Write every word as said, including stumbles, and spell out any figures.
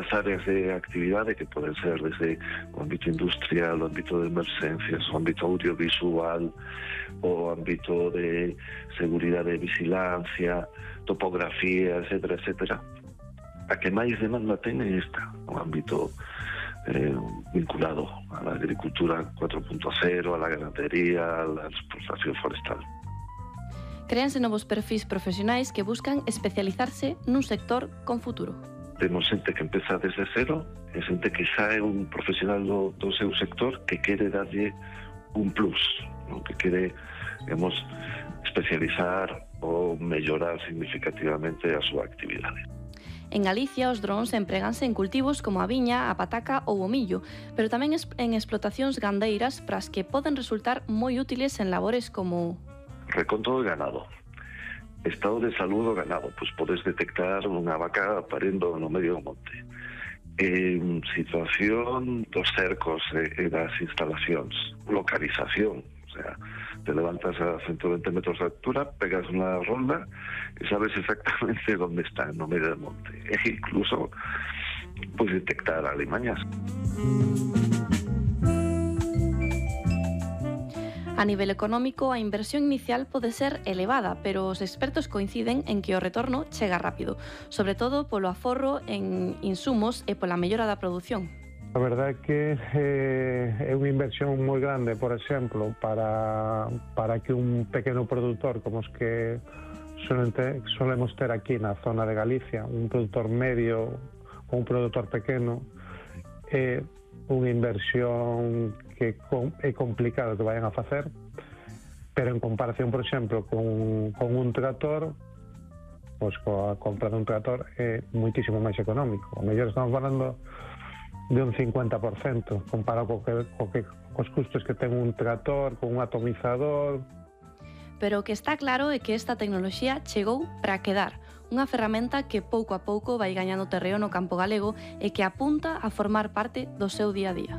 distintas áreas de actividade que poden ser desde o ámbito industrial, o ámbito de emergencias, o ámbito audiovisual, o ámbito de seguridade e vigilancia, topografía, etcétera, etcétera. A que máis demanda ten é esta, un ámbito eh, vinculado a la agricultura cuatro punto cero, a la ganadería, a la explotación forestal. Créanse novos perfis profesionais que buscan especializarse nun sector con futuro. Temos xente que empeza desde cero, e xente que xa é un profesional do, do seu sector que quere darlle un plus, non? Que quere, digamos, especializar ou mellorar significativamente a súa actividade. En Galicia, os drons empréganse en cultivos como a viña, a pataca ou o millo, pero tamén en explotacións gandeiras para as que poden resultar moi útiles en labores como reconto de ganado, estado de salud do ganado, pois podes detectar unha vaca parindo no medio do monte. En situación dos cercos e das instalacións, localización, o sea, te levantas a ciento veinte metros de altura, pegas unha ronda e sabes exactamente onde está no medio do monte. E incluso podes detectar alimañas. A nivel económico, a inversión inicial pode ser elevada, pero os expertos coinciden en que o retorno chega rápido, sobre todo polo aforro en insumos e pola mellora da produción. A verdade é que eh, é unha inversión moi grande, por exemplo, para, para que un pequeno produtor como os que solente, solemos ter aquí na zona de Galicia, un produtor medio ou un produtor pequeno, é unha inversión que é complicado que vayan a facer, pero en comparación, por exemplo, con, con un tractor, pois coa compra dun tractor é moitísimo máis económico. O mellor estamos falando de un cincuenta por cento comparado co que, co que, cos custos que ten un tractor, con un atomizador. Pero o que está claro é que esta tecnoloxía chegou para quedar, unha ferramenta que pouco a pouco vai gañando terreo no campo galego e que apunta a formar parte do seu día a día.